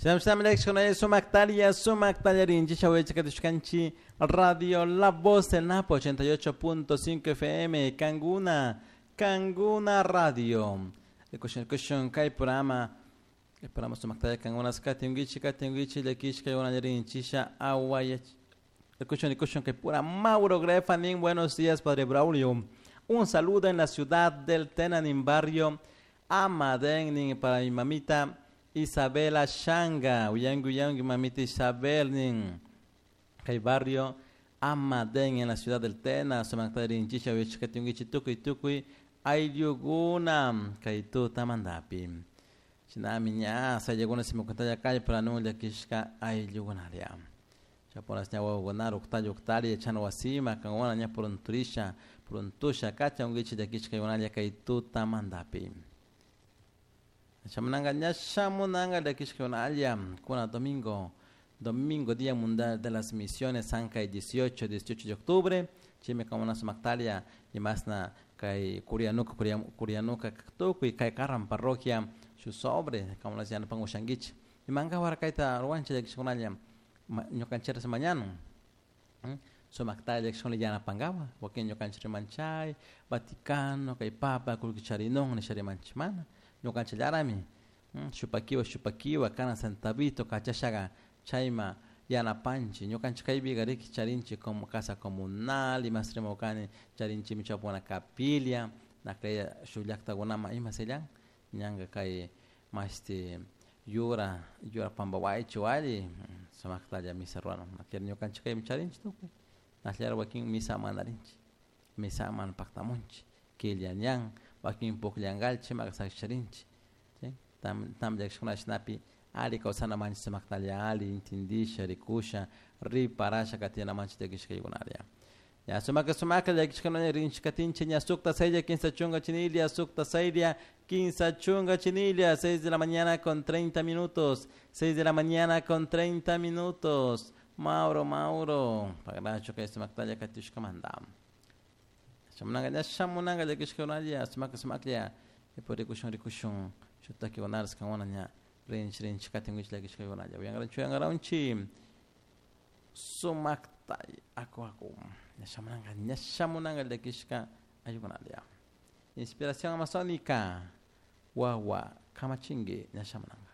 Sumaktalia, Sumaktalia Rinchi, Radio La Voz del Napo 88.5 FM, Canguna, Canguna Radio. Kushun kay programa, el programa Sumaktalia Canguna, Skatingichi, Katingichi, Lekishka, Rinchi, Aguaya. Kushun kay pura Mauro Grefanin, buenos días, Padre Braulio. Un saludo en la ciudad del Tenanin barrio Amaden para mi mamita Isabela Shanga, uyangu uyangu mamita Isabel nin kay barrio Amaden en la ciudad del Tena, sumaktari chisha wichkatungichi tukuy tukuy ayllukuna kay tuta mandapi. Shinami ña sayaguna simukuntaya kay para nulla kishka ayllukunaria. Chaponas ña wawakuna uktalla uktalla chana wasima kankuna ña purunturisha puruntusha kacha ungichi llakishka yunalla kay tuta mandapi. Shamunanga ña shamunanga llakishka yunalla kuna domingo domingo Día Mundial de las Misiones Sankay 18 de octubre chime kamuna sumaktalia imasna kay Kurianuka Kurianuka tukuy kay Karran parroquia shu sobre kamuna yanapan ushankichik imanka warakayta ruwanchik llakishkunalla ñukanchik mañana sumakta llakishkuna yanapankawa wakin ñukanchik rimanchay Vaticano kay Papa kullkicharinun nisha rimanchik mana ñukanchillarami shupakiwa shupakiwa kana centavito kachashaga chayma yanapanchik ñukanchik kaypiqa riki charinchik como casa comunal imas rimawkani charinchikmi chawpuna capilla nakaya shuk llaktakunama ima sellan ñanka kay mashti yura yura pampawaychi alli sumaktalla misa ruwana naklla ñukanchik kaymi charinchik tukuy nakllara wakin misa mandarinchik misa mana paktamunchik killa ñan wakin pukllankalchik imaka sakisharinchik tam llakishkuna shinapi alli kawsana manchik sumaktalla alli intindisha rikusha riparasha katina manchik llakishkaykunalla. Ya sumaka sumaka llakishkuna rinchik katinchik ña sukta saylla kinsa chunka chinilla sukta saylla kinsa chunka chinilla 6 de la mañana con 30 minutos 6 de la mañana con 30 minutos. Mauro Mauro pagracho kay sumaktalla katushkamanta. Shamunanga ña shamunanga llakishkunalla sumaka sumaklla ipo rikushun rikushun shutakikunarishka kankuna ña rinchik rinchik katinkichik llakishkaykunalla uyankaranchik uyankaranchik sumaktay aku aku ña shamunanga ña shamunanga llakishka ayukunalla. Inspiración amazónica wawa kamachinki ña shamunanga.